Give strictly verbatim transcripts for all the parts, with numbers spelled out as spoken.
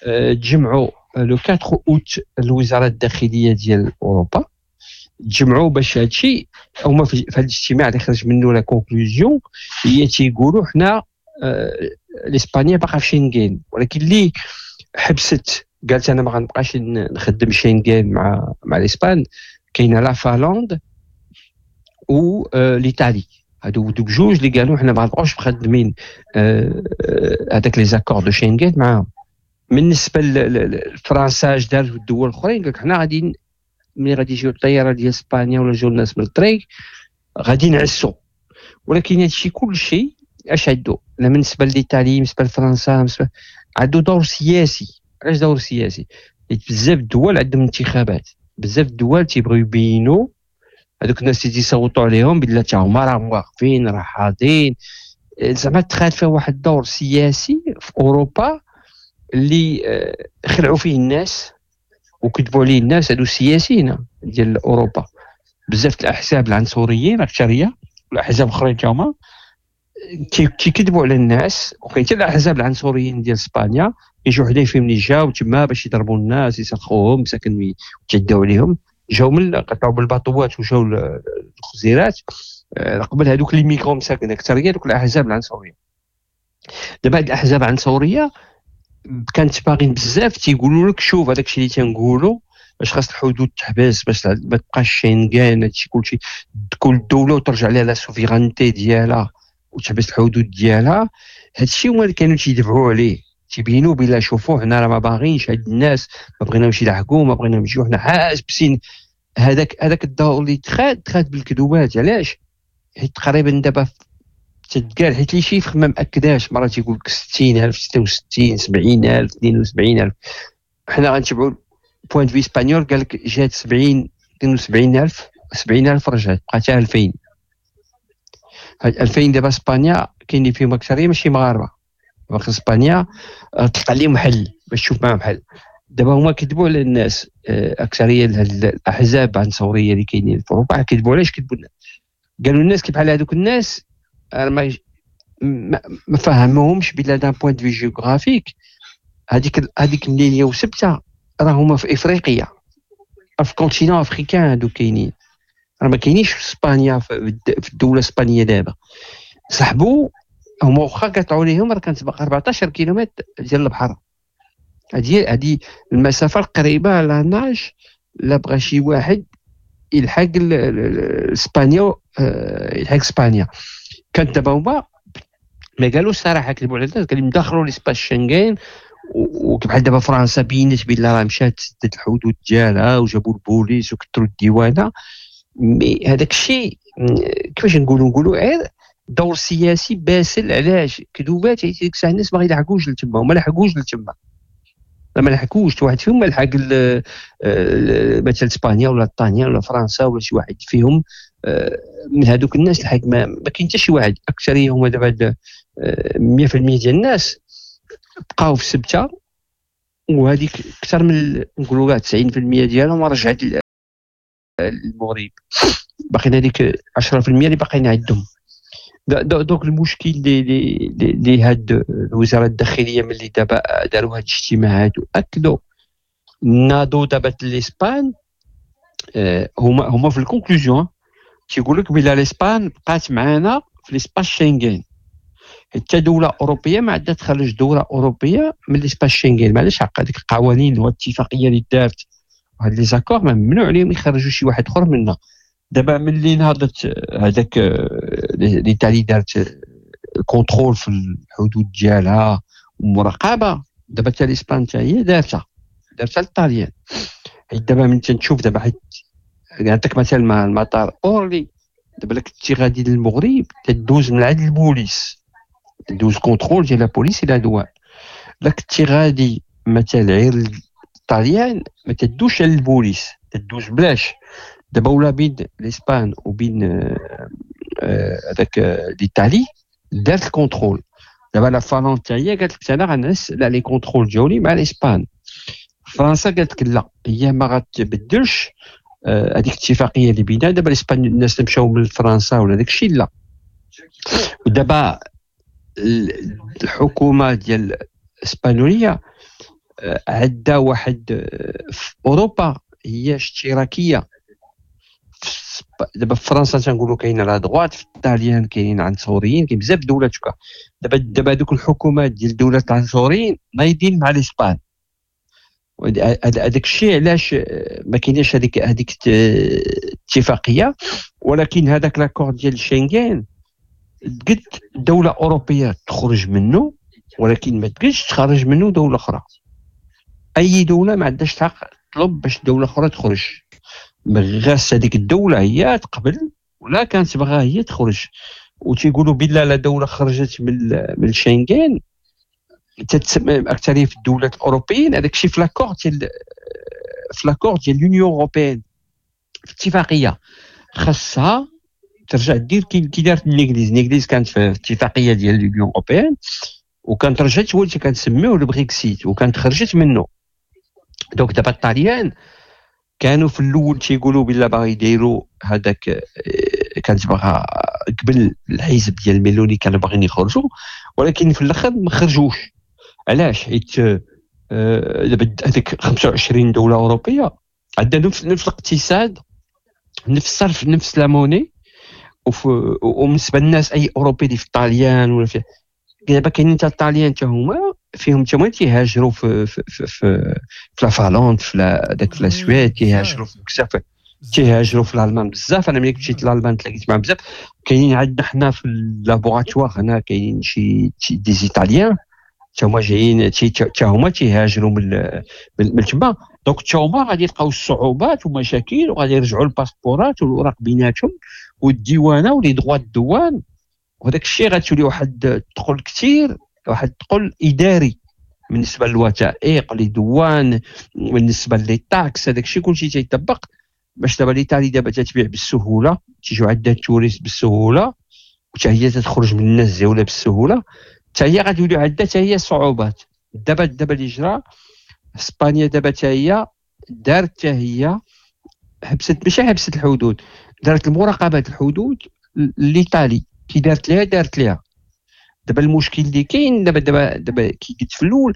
تجمعوا le أربعة اوت الوزارة الداخلية ديال اوروبا، تجمعوا باش هادشي. هما في هذا الاجتماع اللي خرج منه la conclusion هي تيقولوا حنا الاسبانيا باقا في شنغن، ولكن اللي حبست قالت انا ما غنبقاش نخدم شنغن مع مع الاسبان، كاينه la Finlande و l'Italie، هادو دوك جوج اللي قالوا حنا ما غنبقاوش مخدمين هذاك les accords de Schengen معاهم. بالنسبة لفرنسا اش دارت والدول الاخرين، قالك حنا غادي ملي غادي يجيو الطيارة ديال اسبانيا ولا جاو الناس من الطريق غادي نعسو. ولكن هادشي كلشي اش عندو؟ لا بالنسبة l'Italie، بالنسبة لفرنسا، بالنسبة عندو دور سياسي. علاش دور سياسي؟ حيت بزاف الدول عندهم انتخابات، بزاف الدول تيبغيو يبينوا هذوك الناس اللي تيصوتوا عليهم بلا تا هما راهم واقفين راه حاضرين. زعما تخال فيها واحد الدور سياسي في اوروبا اللي خلعوا فيه الناس وكتبوا عليه الناس هادو السياسيين ديال اوروبا. بزاف الاحزاب العنصريين اكثرية والاحزاب الاخرين تا هما تيكذبوا على الناس، وكاين حتى الاحزاب العنصريين ديال اسبانيا يجوا حدا فيهم اللي جاو تما باش يضربوا الناس يسلخوهم مساكن وتعداو عليهم، جاو من قطعوا بالباطوات وجاو الخزيرات قبل هذوك les migrants مساكن اكثرية دوك الاحزاب العنصرية. دابا هاد الاحزاب العنصرية كانت باغين بزاف تيقولوا لك شوف هذاك الشيء اللي تنقولوا باش خاص الحدود تحبس باش ما تبقاش شنغن هادشي كلشي، كل دولة وترجع لها la souveraineté ديالها وتحبس الحدود ديالها. هادشي هما اللي كانوا تيدفعوا عليه، تيبينوا بلا شوفوا حنا راه ما باغينش هاد الناس، ما بغيناهمش يلحقوا، ما بغيناهم يجيو، حنا حاسبين. هذاك هذاك الدور اللي تخاد تخاد بالكذوبات. علاش؟ حيت تقريبا دابا تتقال، حيت les chiffres ما مأكداش، مرة تيقول لك ستين ألف، ستة وستين، سبعين ألف، اثنين وسبعين ألف. حنا غنتبعوا point de vue espagnol، قال لك جات سبعين، اثنين وسبعين ألف، سبعين ألف رجعت بقات ألفين. هاد ألفين دابا اسبانيا كاين اللي فيهم اكثرية ماشي مغاربة، باقي اسبانيا تلقى لهم حل باش تشوف معاهم حل. دابا هما كذبوا على الناس، اكثرية الاحزاب العنصرية اللي كاينين في اوروبا كذبوا. علاش كذبوا الناس؟ قالوا الناس كيف بحال هذوك الناس ما ما فهموهمش بلا d'un point de vue géographique هذيك هذيك مليليه وسبته راه هما في افريقيا، في continent africain هادو كاينين، راه ما كاينينش في اسبانيا في الدولة الاسبانية. دابا سحبوا هما واخا قطعوا ليهم راه كانت باقا أربعطاش كيلومتر ديال البحر. هذه هذه المسافة القريبة à la nage، لا بغى شي واحد يلحق اسبانيا يلحق اسبانيا. كانت دابا هما ما قالوش صراحة كذبوا على الناس، قال لهم دخلوا l'espace Schengen. وبحال دابا فرنسا بينت بلي راه مشات سدت الحدود ديالها وجابوا البوليس وكثروا الديوانه. mais هذاك الشيء كيفاش نقولوا؟ نقولوا غير دور سياسي باسل. علاش كذوبات؟ حيت ديك الساعة الناس ما غيلحقوش لتما، وما لحقوش لتما، ما لحقوش واحد فيهم ما لحق مثلا اسبانيا ولا الطاليان ولا فرنسا ولا شي واحد فيهم من هذوك الناس لحق. ما, ما كاين حتى شي واحد. اكثرية هما دابا مية في المية ديال الناس بقاو في سبته، وهذيك اكثر من نقولوا كاع تسعين في المية ديالهم رجعت للمغرب، باقيين هذيك عشرة في المية اللي باقيين عندهم. donc المشكل اللي اللي هاد الوزارة الداخلية ملي دابا داروا هاد الاجتماعات واكدوا نادو دابا الاسبان، هما هما في ال conclusion تيقول لك بلا الاسبان بقات معانا في l'espace Schengen، حتى دولة اوروبية ما عندها تخرج دولة اوروبية من l'espace Schengen، ما عندهاش حق. هذيك القوانين والاتفاقيه اللي دارت وهاد les accords ممنوع عليهم يخرجوا شي واحد اخر منها. دابا ملي نهضت هذاك l'Italie دارت ال contrôle في الحدود ديالها ومراقبة، دابا حتى الاسبان حتى هي دارتها دارتها للطاليان. حيت دابا من تنشوف دابا، حيت نعطيك مثال مع المطار اورلي، دابا الا كنتي غادي للمغرب تدوز من عند البوليس، تدوز contrôle ديال la police la douane. الا كنتي غادي مثلا غير الطاليان ما تدوش على البوليس، تدوز بلاش. دابا ولا بين الاسبان وبين هذاك l'Italie دارت ال contrôle. دابا la Finlande حتى هي قالت لك انا غنعس على les contrôles ديالي مع الاسبان. فرنسا قالت لك لا، هي ما غتبدلش هذيك الاتفاقية اللي بينها. دابا الاسبان الناس اللي مشاو من فرنسا ولا داك الشيء لا. ودابا الحكومة ديال الاسبانيوليه عندها واحد في اوروبا هي اشتراكية. دابا في فرنسا تنقولوا كاينه la droite، في الطاليان كاينين عنصريين، كاين بزاف الدولات. دابا دابا دوك الحكومات ديال الدولات العنصريين نايضين مع الاسبان. هذاك الشيء علاش ما كايناش هذيك هذيك الاتفاقية. ولكن هذاك l'accord ديال شنغن قد دولة اوروبية تخرج منه، ولكن ما تقدش تخرج منه دولة اخرى. اي دولة ما عندهاش الحق تطلب باش دولة اخرى تخرج، غاس هذيك الدولة هي تقبل ولا كانت باغا هي تخرج. وتيقولوا بلا لا دولة خرجت من من شنغن تتسمى اكثرية في الدولات الاوروبيين. هذاك الشيء في l'accord ديال في l'accord ديال l'Union européenne، في اتفاقية خاصها ترجع دير كي دارت الانجليز. الانجليز كانت في اتفاقية ديال l'Union européenne وكانت رجعت، هو اللي كنسميوه البريكسيت، وكانت خرجت منه. donc دابا الطاليان كانوا في الاول تيقولوا بلا باغي يديروا هذاك، كانت باغا قبل الحزب ديال ميلوني كانوا باغيين يخرجوا، ولكن في الاخر ما خرجوش. علاش؟ حيت دابا هذيك خمسة وعشرين دولة اوروبية عندها نفس نفس الاقتصاد، نفس الصرف، نفس la monnaie. وبالنسبة للناس اي اوروبي اللي في الطاليان ولا في دابا كاينين حتى الطاليان حتى هما فيهم حتى هما تيهاجروا في في في, في, في la Finlande، في داك في la Suède، تيهاجروا في بزاف، تيهاجروا في الالمان بزاف. انا ملي مشيت لالمان تلاقيت معاهم بزاف. كاينين عندنا حنا في ال laboratoire هنا كاينين شي des Italiens حتى هما جايين، حتى هما تيهاجروا من من تما. donc حتى هما غادي يلقاو الصعوبات ومشاكل، وغادي يرجعوا الباسبورات والوراق بيناتهم والديوانه و les droits de douane، وهذاك الشيء غتولي واحد الثقل كثير، واحد الثقل اداري بالنسبة للوثائق، les douanes، بالنسبة les taxes، هذاك الشيء كلشي تيطبق. باش دابا l'Italie دابا تتبيع بالسهولة، تيجيو عندها ال touristes بالسهولة، وحتى هي تتخرج من الناس ديالها بالسهولة، حتى هي غادي يوليو عندها حتى هي صعوبات. دابا دابا اللي جرى اسبانيا دابا حتى هي دارت، حتى هي حبست، ماشي حبست الحدود، دارت المراقبة الحدود l'Italie. كي دارت ليها دارت ليها. دابا المشكل اللي كاين دابا دابا دابا كي قلت في الاول،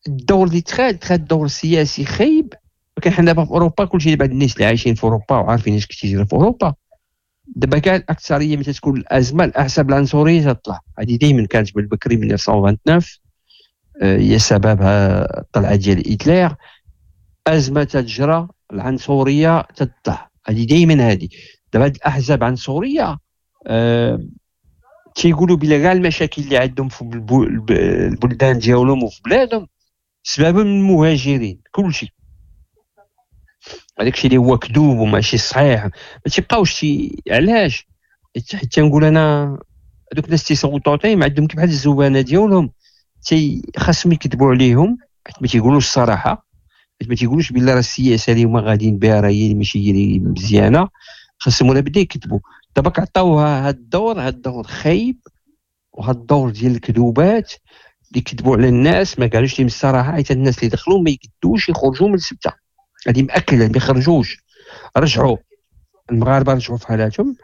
الدور اللي تخاد تخاد دور سياسي خايب. ولكن حنا دابا في اوروبا كلشي دابا الناس اللي عايشين في اوروبا وعارفين اش كيجري في اوروبا. دابا كاع الاكثرية ملي تكون الازمة الاحزاب العنصرية تطلع، هذه دائما كانت بالبكري من ألف وتسعمية وتسعة وعشرين، هي سببها الطلعة ديال هتلر. ازمة تجرى العنصرية تطلع، هذه دائما هذه. دابا هاد الاحزاب العنصرية أه تيقولوا بلا كاع المشاكل اللي عندهم في البلدان ديالهم وفي بلادهم سبب من المهاجرين، كلشي هذاك الشيء اللي هو كذوب وماشي صحيح. ما تيبقاوش تي... علاش؟ حيت تنقول انا هذوك الناس تيصوتوا عطيهم عندهم كيف بحال الزبانه ديالهم، تي خاصهم يكذبوا عليهم حيت ما تيقولوش الصراحة، حيت ما تيقولوش بلا راه السياسة اللي هما غاديين بها راه هي ماشي هي اللي مزيانه، خاصهم ولا بدا يكذبوا. دابا عطاوها هاد الدور، هاد الدور خايب، وهاد الدور ديال الكذوبات اللي كذبوا على الناس، ما قالوش لهم الصراحة، حيت الناس اللي دخلوا ما يقدوش يخرجوا من السبته، هذه مأكده ما يخرجوش. رجعوا المغاربة رجعوا في حالاتهم،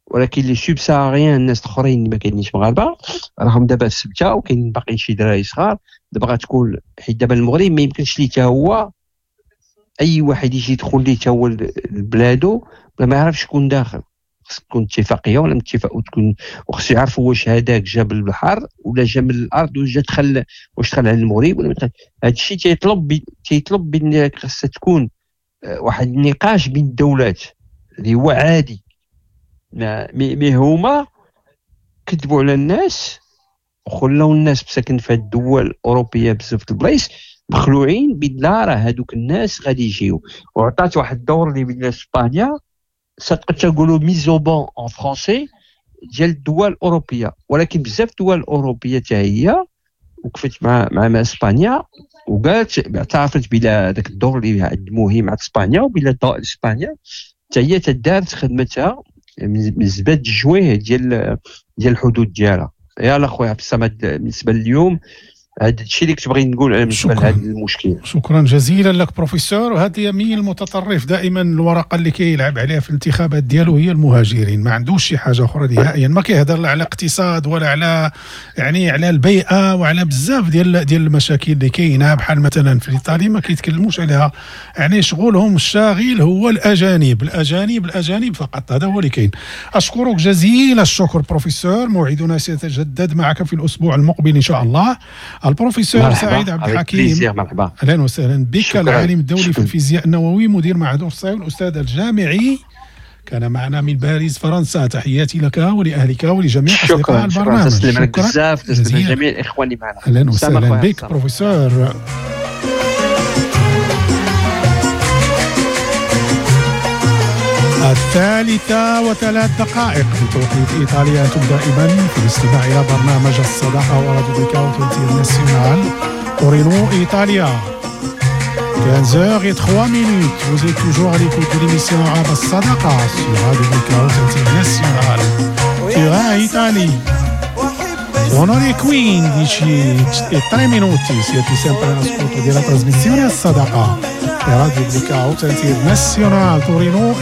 ولكن les subsahariens الناس الاخرين اللي ما كاينينش مغاربة راهم دابا في السبته، وكاين باقيين شي دراري صغار. دابا غتكون حيت دابا المغرب ما يمكنش ليه حتى هو اي واحد يجي يدخل ليه حتى هو لبلادو بلا ما يعرف شكون داخل. خص تكون اتفاقية ولا اتفاق، وتكون وخص يعرفوا واش هذاك جا من البحر ولا جا من الارض، واش دخل، واش دخل على المغرب ولا دخل. هذا الشيء تيطلب تيطلب بان خصها تكون واحد النقاش بين الدولات اللي هو عادي. mais هما كذبوا على الناس وخلاو الناس مساكن في الدول الاوروبية بزاف البلايص مخلوعين بلا راه هذوك الناس غادي يجيو. وعطات واحد الدور اللي بين اسبانيا صدقت تنقولوا mise au ban en français ديال الدول الاوروبية، ولكن بزاف الدول الاوروبية حتى هي وقفت مع مع اسبانيا وقالت اعترفت بلا ذاك الدور اللي مهم مع اسبانيا، وبلا اسبانيا حتى هي تدارت خدمتها من زباد الجوية ديال ديال الحدود ديالها. يلا خويا عبد الصمد، بالنسبة لليوم هذا الشيء اللي كنت بغيت نقول بالنسبة لهذا المشكل. شكرا جزيلا لك بروفيسور. وهذا اليمين المتطرف دائما الورقة اللي كيلعب عليها في الانتخابات ديالو هي المهاجرين، ما عندوش شي حاجة اخرى نهائيا، ما كيهضر لا على اقتصاد ولا على يعني على البيئة وعلى بزاف ديال ديال المشاكل اللي كاينه، بحال مثلا في ايطاليا ما كيتكلموش عليها، يعني شغلهم الشاغل هو الاجانب الاجانب الاجانب فقط، هذا هو اللي كاين. اشكرك جزيل الشكر بروفيسور، موعدنا سيتجدد معك في الاسبوع المقبل ان شاء الله. البروفيسور سعيد عبد الحكيم، اهلا وسهلا بك، العالم الدولي في الفيزياء النووي، مدير معهد أورساي والأستاذ الجامعي، كان معنا من باريس فرنسا. تحياتي لك ولأهلك ولجميع أصدقاء البرنامج. شكرا بزاف، تسلم لجميع الإخوان اللي معنا. اهلا وسهلا بك بروفيسور. الثالثة وثلاث دقائق بتوقيت إيطاليا. أنتم دائما في الاستماع إلى برنامج الصداقة وراديو بليكاوت انترناسيونال تورينو إيطاليا. quinze heures et trois minutes. Vous êtes toujours à l'écoute de l'émission Arabe Sadaqa sur Radio Blackout International. Turin, Italie. Sono le quindici e tre minuti. Siete sempre all'ascolto della trasmissione Sadaqa. Radio Blackout International Torino.